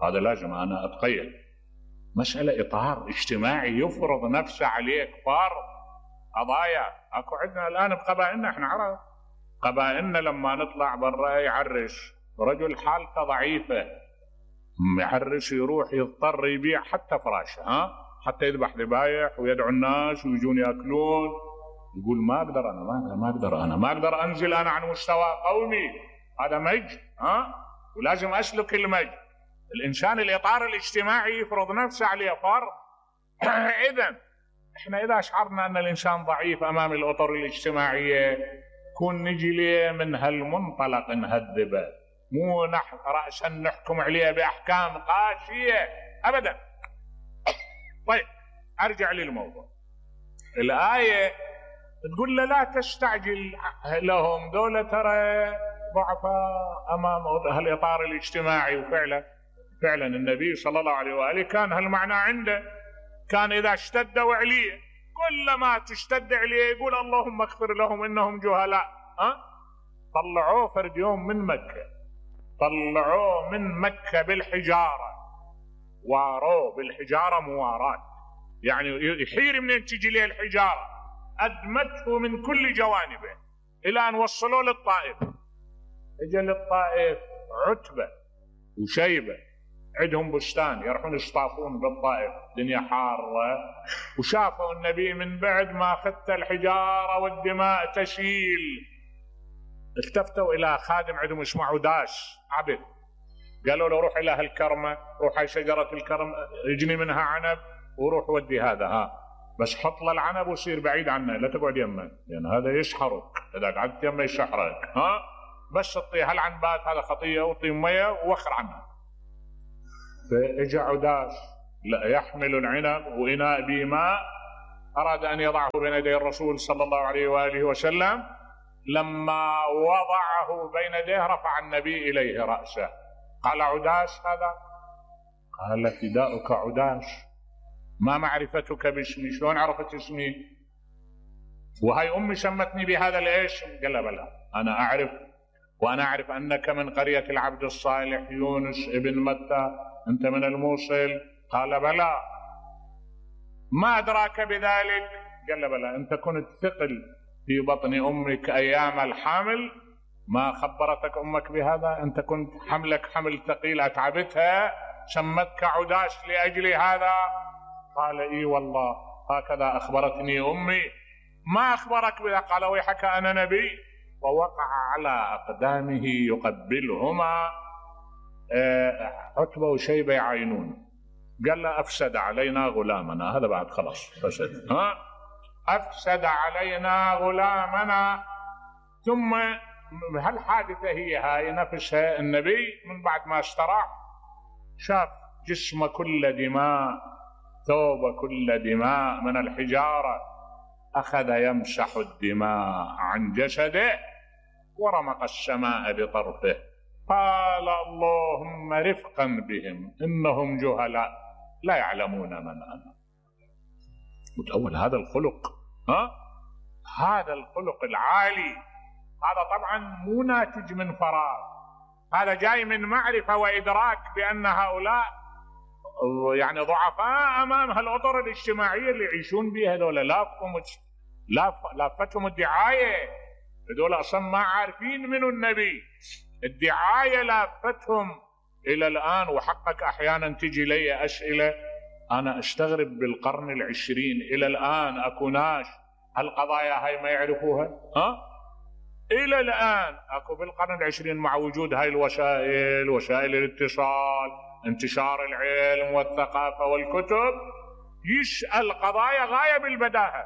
هذا لازم أنا أتقيد. مسألة إطار اجتماعي يفرض نفسه عليك، فرض قضايا. أكو عندنا الآن بقبائلنا، إحنا عرب، قبائلنا لما نطلع برا يعرس رجل حالته ضعيفة، يعرس يروح يضطر يبيع حتى فراشه، حتى يذبح ذبايح ويدعو الناس ويجون يأكلون، يقول ما أقدر أنزل أنا عن مستوى قومي، هذا مجد، ولازم أسلك المجد. الإنسان الإطار الاجتماعي يفرض نفسه عليه فرض. إحنا إذا شعرنا أن الإنسان ضعيف أمام الأطر الاجتماعية كون نجي ليه من هالمنطلق نهذبه، مو رأسا نحكم عليه بأحكام قاسية أبدا. طيب أرجع للموضوع. الآية تقول له لا تستعجل لهم، دولة ترى ضعفاء أمام هالإطار الاجتماعي. وفعلا النبي صلى الله عليه وآله كان هالمعنى عنده، كان إذا اشتدوا عليه كلما تشتد عليه يقول اللهم اغفر لهم إنهم جهلاء. طلعوه فرد يوم من مكة، طلعوه من مكة بالحجارة، واروه بالحجارة موارات، يعني يحير منين تجي له الحجارة، أدمته من كل جوانبه إلى أن وصلوا للطائف. اجى للطائف عتبة وشيبة عندهم بستان يروحون يصطافون بالطائف، دنيا حارة، وشافوا النبي من بعد ما خدت الحجارة والدماء تسيل. التفتوا إلى خادم عندهم اسمه عداش عبد، قالوا له روح إلى هالكرمة، روح على شجرة الكرم اجني منها عنب وروح ودي هذا، بس حط له العنب وصير بعيد عنه، لا تقعد يمه لأن هذا يسحرك، إذا قعدت يمه يسحرك. بس اعطيه هالعنبات، هذا خطية، واعطيه مية ووخر عنها. فاجا عداش لا يحمل العنب وإناء بماء، أراد أن يضعه بين يدي الرسول صلى الله عليه وآله وسلم. لما وضعه بين يديه رفع النبي إليه رأسه، قال عداش هذا؟ قال فداؤك عداش، ما معرفتك باسمي، شلون عرفت اسمي؟ وهي أمي سمتني بهذا الاسم. قال لا بلى أنا أعرف، وأنا أعرف أنك من قرية العبد الصالح يونس ابن متى، أنت من الموصل. قال بلى. ما أدراك بذلك؟ قال بلى. أنت كنت ثقل في بطن أمك أيام الحمل، ما خبرتك أمك بهذا؟ أنت كنت حملك حمل ثقيل أتعبتها، سمتك عداش لأجل هذا؟ قال إي والله هكذا أخبرتني أمي. ما أخبرك بها؟ قال ويحك أنا نبي. ووقع على أقدامه يقبلهما. عتبة وشيبة يعاينون. قال له أفسد علينا غلامنا، هذا بعد خلاص فسد، أفسد علينا غلامنا. ثم هالحادثة هي هاي نفسها النبي من بعد ما استراح شاف جسمه كله دماء، ثوبه كله دماء من الحجارة، أخذ يمسح الدماء عن جسده ورمق السماء بطرفه، قال اللهم رفقا بهم إنهم جهلاء لا يعلمون من أنا. متأول هذا الخلق، هذا الخلق العالي، هذا طبعا مو ناتج من فراغ، هذا جاي من معرفة وإدراك بأن هؤلاء يعني ضعفاء أمام هالأطر الاجتماعية اللي يعيشون بها. هذول لافتهم الدعاية، هذول أصلا ما عارفين منو النبي، الدعاية لافتهم إلى الآن. وحقك أحيانا تجي لي أسئلة أنا أستغرب بالقرن العشرين إلى الآن أكو ناس هالقضايا هاي ما يعرفوها. إلى الآن أكو بالقرن العشرين مع وجود هاي الوسائل، وسائل الاتصال، انتشار العلم والثقافة والكتب، يسأل قضايا غاية بالبداهة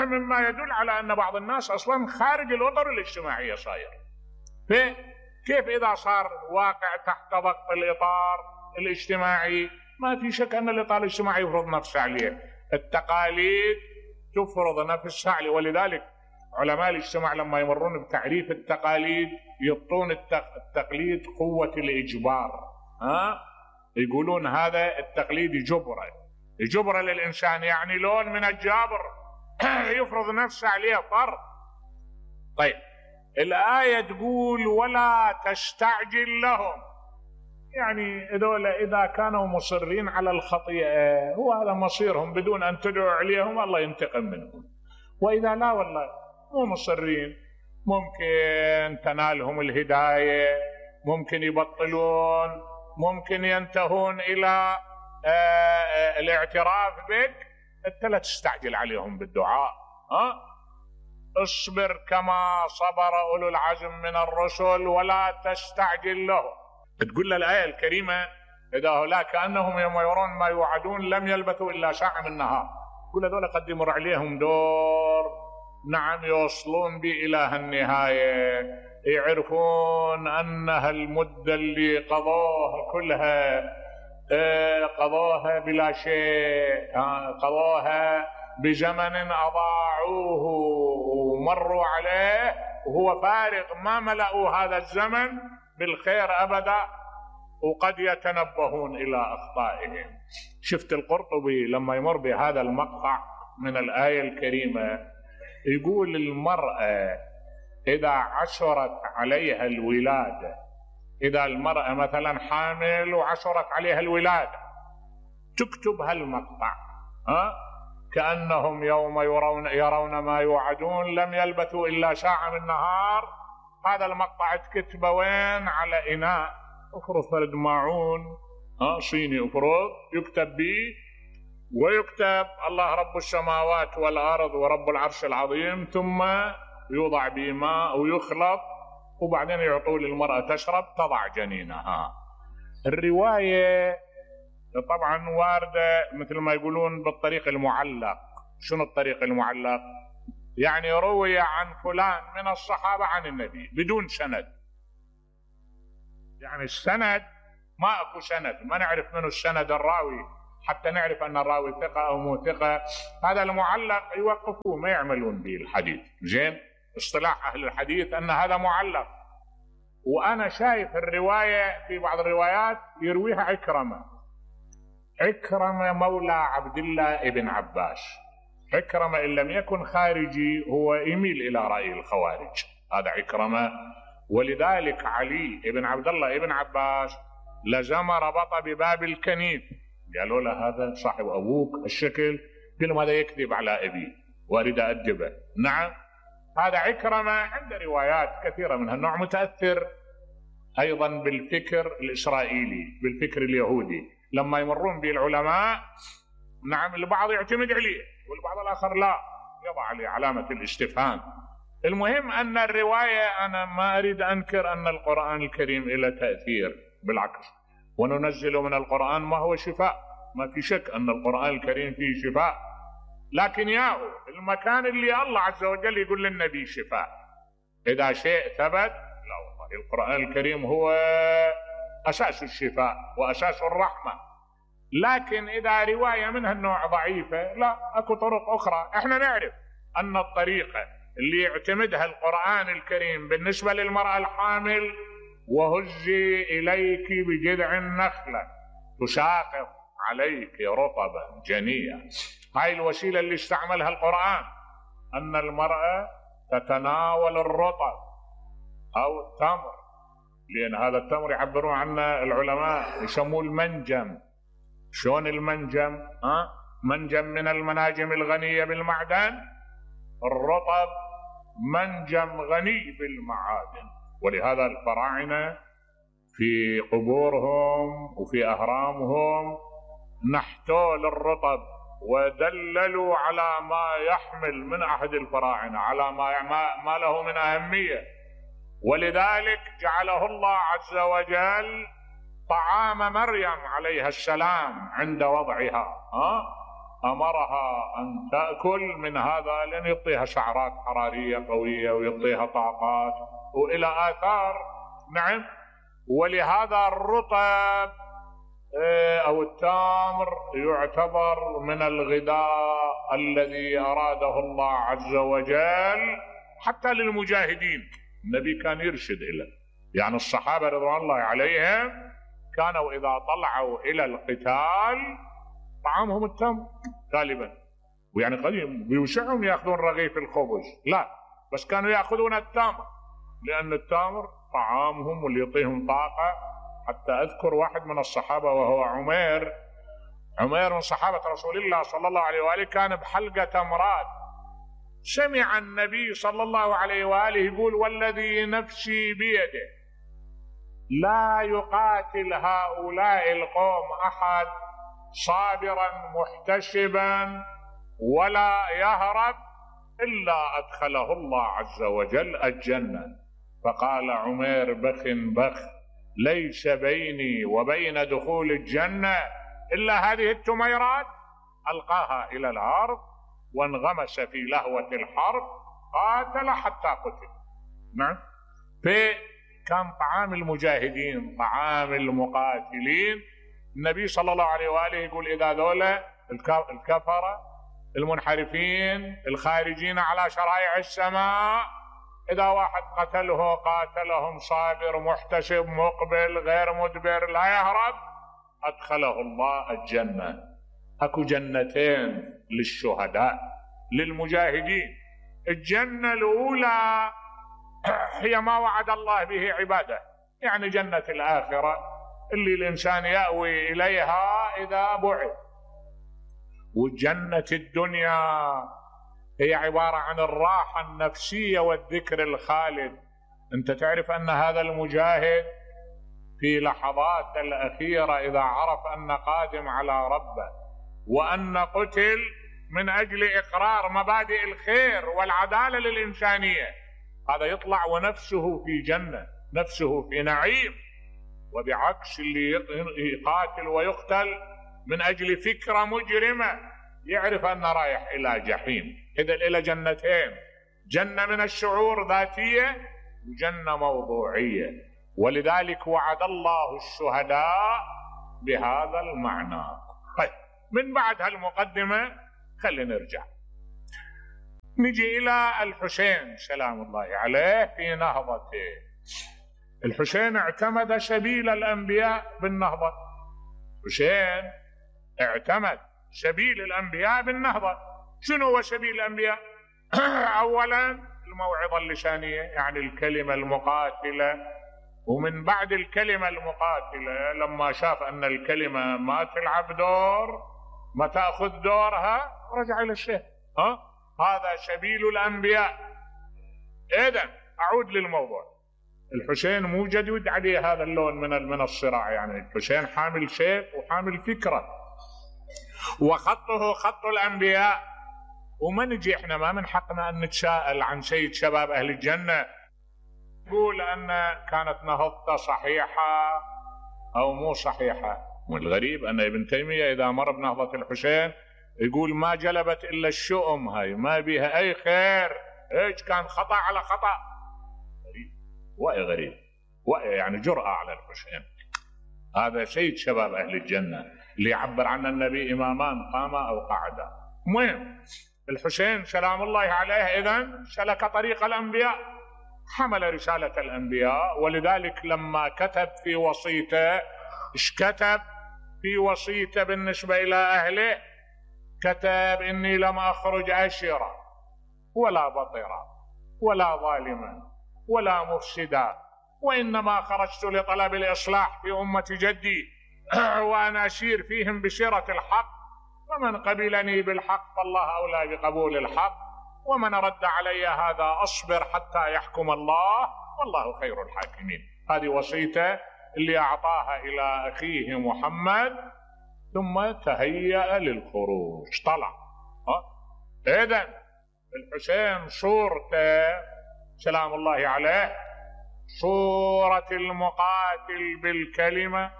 مما يدل على أن بعض الناس أصلا خارج الأطر الاجتماعية صاير. كيف إذا صار واقع تحت ضغط الإطار الاجتماعي؟ ما في شك أن الإطار الاجتماعي يفرض نفسه عليه، التقاليد تفرض نفسها عليه. ولذلك علماء الاجتماع لما يمرون بتعريف التقاليد يعطون التقليد قوة الإجبار. يقولون هذا التقليد جبرة للإنسان، يعني لون من الجابر يفرض نفسه عليه فرض. طيب الآية تقول ولا تستعجل لهم، يعني هذول إذا كانوا مصرين على الخطيئة هو هذا مصيرهم، بدون أن تدعو عليهم الله ينتقم منهم. وإذا لا والله مو مصرين، ممكن تنالهم الهداية، ممكن يبطلون، ممكن ينتهون إلى الاعتراف بك، أنت لا تستعجل عليهم بالدعاء. اصبر كما صبر أولو العزم من الرسل ولا تستعجل لهم. تقول له الآية الكريمة إذا هؤلاء كأنهم يوم يرون ما يوعدون لم يلبثوا إلا ساعة من النهار. كل هذول قد يمر عليهم دور، نعم، يوصلون بي إلى النهاية، يعرفون أن هالمدة اللي قضوها كلها قضوها بلا شيء، قضوها بزمن أضاعوه ومروا عليه وهو فارغ، ما ملأوا هذا الزمن بالخير أبدا، وقد يتنبهون إلى أخطائهم. شفت القرطبي لما يمر بهذا المقطع من الآية الكريمة يقول المرأة إذا عشرت عليها الولادة، إذا المرأة مثلا حامل وعشرت عليها الولادة تكتب هالمقطع، كأنهم يوم يرون ما يوعدون لم يلبثوا إلا ساعة من نهار. هذا المقطع تكتبه وين؟ على إناء، افرض فرد ماعون صيني افرض، يكتب به ويكتب الله رب السماوات والأرض ورب العرش العظيم، ثم يوضع به ماء ويخلط، وبعدين يعطوا للمرأة تشرب تضع جنينها. الرواية طبعا واردة مثل ما يقولون بالطريق المعلق. شنو الطريق المعلق؟ يعني روي عن فلان من الصحابة عن النبي بدون سند، يعني السند ما اكو سند، ما نعرف منه السند الراوي حتى نعرف ان الراوي ثقة او مو ثقة. هذا المعلق يوقفوه ما يعملون به الحديث. زين، اصطلاح اهل الحديث ان هذا معلق. وانا شايف الرواية في بعض الروايات يرويها عكرمة مولى عبد الله ابن عباس. عكرمة إن لم يكن خارجي هو يميل إلى رأي الخوارج، هذا عكرمة. ولذلك علي ابن عبد الله ابن عباس لزم ربط بباب الكنيف، قالوا له هذا صاحب أبوك الشكل، قال هذا يكذب على أبي وأريد أدبه. نعم، هذا عكرمة عنده روايات كثيرة من هالنوع، متأثر أيضا بالفكر الإسرائيلي، بالفكر اليهودي. لما يمرون به العلماء نعم البعض يعتمد عليه والبعض الآخر لا، يضع عليه علامة الاستفهام. المهم أن الرواية، أنا ما أريد أنكر أن القرآن الكريم له تأثير، بالعكس، وننزل من القرآن ما هو شفاء، ما في شك أن القرآن الكريم فيه شفاء، لكن ياهو المكان اللي الله عز وجل يقول للنبي شفاء إذا شيء ثبت، لا والله القرآن الكريم هو أساس الشفاء وأساس الرحمة. لكن إذا رواية من هالنوع ضعيفة، لا، أكو طرق أخرى. إحنا نعرف أن الطريقة اللي يعتمدها القرآن الكريم بالنسبة للمرأة الحامل: وهزي إليك بجذع النخلة تساقط عليك رطبا جنيا. هاي الوسيلة اللي استعملها القرآن، أن المرأة تتناول الرطب أو التمر، لأن هذا التمر يعبرون عنه العلماء يسموه المنجم. شلون المنجم؟ منجم من المناجم الغنية بالمعدن، الرطب منجم غني بالمعادن. ولهذا الفراعنة في قبورهم وفي أهرامهم نحتوا للرطب ودللوا على ما يحمل من عهد الفراعنة، على ما له من أهمية. ولذلك جعله الله عز وجل طعام مريم عليها السلام عند وضعها، أمرها أن تأكل من هذا لأن يعطيها سعرات حرارية قوية ويعطيها طاقات وإلى آثار. نعم، ولهذا الرطب أو التمر يعتبر من الغذاء الذي أراده الله عز وجل حتى للمجاهدين. النبي كان يرشد إليه، يعني الصحابة رضوان الله عليهم كانوا إذا طلعوا إلى القتال طعامهم التمر غالبا، ويعني قديم بيوسعهم يأخذون رغيف الخبز، لا، بس كانوا يأخذون التمر لأن التمر طعامهم واللي يعطيهم طاقة. حتى أذكر واحد من الصحابة وهو عمير من صحابة رسول الله صلى الله عليه وآله، كان بحلقة تمرات، سمع النبي صلى الله عليه وآله يقول: والذي نفسي بيده لا يقاتل هؤلاء القوم أحد صابرا محتسبا ولا يهرب إلا أدخله الله عز وجل الجنة. فقال عمير: بخ ليس بيني وبين دخول الجنة إلا هذه التميرات. ألقاها إلى الأرض وانغمس في لهوة الحرب، قاتل حتى قتل. نعم، فكان طعام المجاهدين طعام المقاتلين. النبي صلى الله عليه وآله يقول إذا ذولا الكفرة المنحرفين الخارجين على شرائع السماء إذا واحد قاتلهم صابر محتسب مقبل غير مدبر لا يهرب أدخله الله الجنة. أكو جنتين للشهداء للمجاهدين. الجنة الأولى هي ما وعد الله به عباده، يعني جنة الآخرة اللي الإنسان يأوي إليها إذا بعث. وجنة الدنيا هي عبارة عن الراحة النفسية والذكر الخالد. أنت تعرف أن هذا المجاهد في لحظات الأخيرة إذا عرف أن قادم على ربه وأن قتل من أجل إقرار مبادئ الخير والعدالة للإنسانية، هذا يطلع ونفسه في جنة، نفسه في نعيم. وبعكس اللي يقاتل ويقتل من أجل فكرة مجرمة يعرف أنه رايح إلى جحيم. إذا إلى جنتين، جنة من الشعور ذاتية وجنة موضوعية، ولذلك وعد الله الشهداء بهذا المعنى. طيب من بعد هالمقدمة خلينا نرجع نجي إلى الحسين سلام الله عليه في نهضته. الحسين اعتمد سبيل الأنبياء بالنهضة. حسين اعتمد سبيل الأنبياء بالنهضة. شنو هو سبيل الأنبياء؟ أولا الموعظة اللسانية، يعني الكلمة المقاتلة. ومن بعد الكلمة المقاتلة لما شاف أن الكلمة ما تلعب دور، ما تأخذ دورها، رجع إلى الشيء. هذا سبيل الأنبياء. إذن أعود للموضوع. الحسين مو جديد عليه هذا اللون من الصراع، يعني الحسين حامل سيف وحامل فكرة وخطه خط الأنبياء. وما نجي احنا ما من حقنا أن نتساءل عن سيد شباب أهل الجنة يقول أن كانت نهضته صحيحة أو مو صحيحة. والغريب أن ابن تيمية إذا مر بنهضة الحسين يقول ما جلبت إلا الشؤم، هاي ما بيها أي خير، إيش كان خطأ على خطأ. غريب يعني جرأة على الحسين. هذا سيد شباب أهل الجنة اللي يعبر عن النبي إمامان قاما أو قعدا. المهم الحسين سلام الله عليه إذن سلك طريق الأنبياء، حمل رسالة الأنبياء. ولذلك لما كتب في وصيته، إيش كتب في وصيته بالنسبة إلى أهله؟ كتب إني لم أخرج أشرا ولا بطرا ولا ظالما ولا مفسدا، وإنما خرجت لطلب الإصلاح في أمة جدي وأنا أسير فيهم بسيرة الحق، فمن قبلني بالحق فالله أولى بقبول الحق، ومن رد علي هذا أصبر حتى يحكم الله والله خير الحاكمين. هذه وصيته اللي أعطاها إلى أخيه محمد، ثم تهيأ للخروج طلع. إذن الحسين صورته سلام الله عليه صورة المقاتل بالكلمة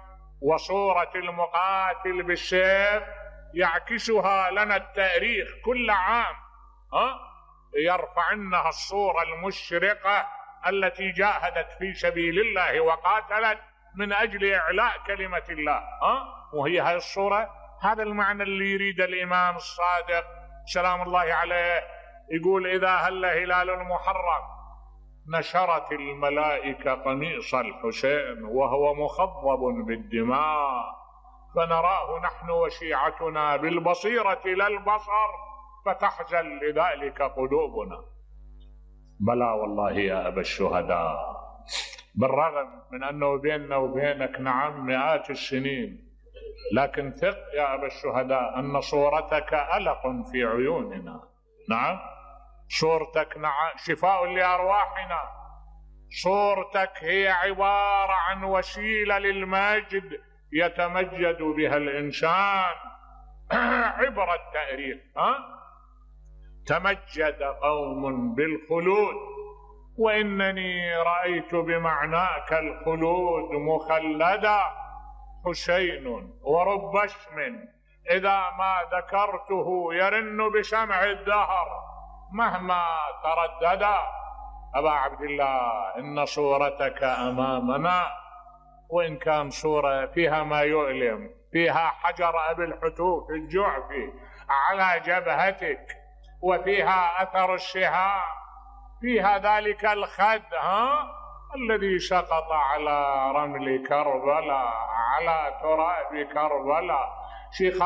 وصورة المقاتل بالسيف، يعكسها لنا التاريخ كل عام. يرفع عنها الصورة المشرقة التي جاهدت في سبيل الله وقاتلت من أجل إعلاء كلمة الله. وهي هاي الصورة، هذا المعنى اللي يريد الإمام الصادق سلام الله عليه. يقول إذا هل هلال المحرم نشرت الملائكة قميص الحسين وهو مخضب بالدماء، فنراه نحن وشيعتنا بالبصيرة لا البصر، فتحزن لذلك قلوبنا. بلى والله يا أبا الشهداء، بالرغم من أنه بيننا وبينك نعم مئات السنين، لكن ثق يا أبا الشهداء أن صورتك ألق في عيوننا. نعم صورتك شفاء لأرواحنا. صورتك هي عبارة عن وسيلة للمجد يتمجد بها الإنسان. عبر التاريخ تمجد قوم بالخلود، وإنني رأيت بمعناك الخلود مخلدا. حسين ورب اسم إذا ما ذكرته يرن بسمع الدهر مهما ترددا. أبا عبد الله إن صورتك أمامنا، وإن كان صورة فيها ما يؤلم، فيها حجر أبي الحتوف الجعفي على جبهتك، وفيها أثر الشهاب، فيها ذلك الخد الذي سقط على رمل كربلاء، على تراب كربلاء. شيخ